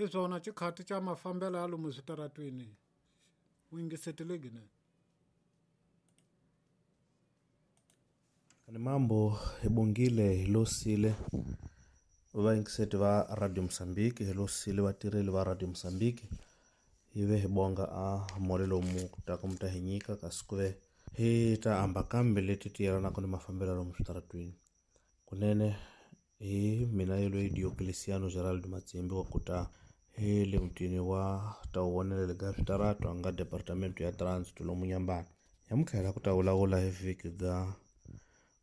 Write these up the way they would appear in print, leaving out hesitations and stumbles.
Hi swona xikhati xa mafambelo ya lomu switaratwini u yingisetile gine. Ni mambo hi bongile hi losile vayingiseti va Radio Mozambique, hi losile vatirheli va Radio Mozambique, hi ve hi bonga a mole lomu taka mi ta hi nyika kasi ku ve hi ta amba kambe leti ti yelanaka ni mafambelo lomu switaratwini. Kunene hi mina yelweyi Diocleciano Gerald Matsimbi wa kuta hi le mutini wa tawuvonelele ka switarato a nga departamento ya transit lomu Nyambana. Yamutlhela ku ta vulavula hi vhiki ga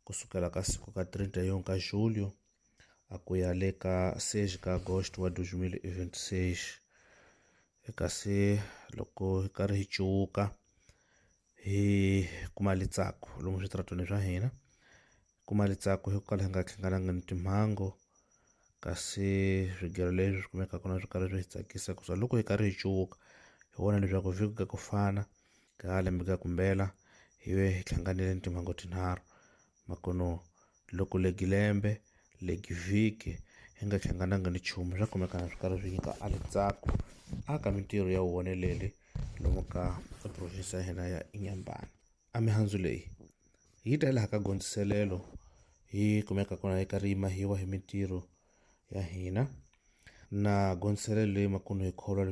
kusukela ka siku ka 31 ka julho a ku ya le ka 6 ka agosto wa 2026. Kasi loko hi karhi hi cuwuka hi kuma litsako lomu switaratweni swa hina, kuma litsako hi ku kala hi nga hlangananga ni timhangu, kasi swigelo leswi swi kumekaka na swi karhi swi hi tsakisa ku loko hi karhi hi cuwuka hi vona leswaku vhiki ka ku fana ka lembe ka kumbela hi ve hi hlanganile ni timhangu tinharhu. Makono loko legi lembe legi vhiki hi nga hlangananga ni nchumu swa kumekana swi karhi swi nyika a litsako a ka mintirho ya vuvoneleli lomu ka province ya hina ya Inhambane. A mihandzu leyi yi ta laha ka gondziselelo yi kumeka kona yi karhi yi mahiwa hi mintirho ya hina na gondziselelo leyi makumu hi kholwa.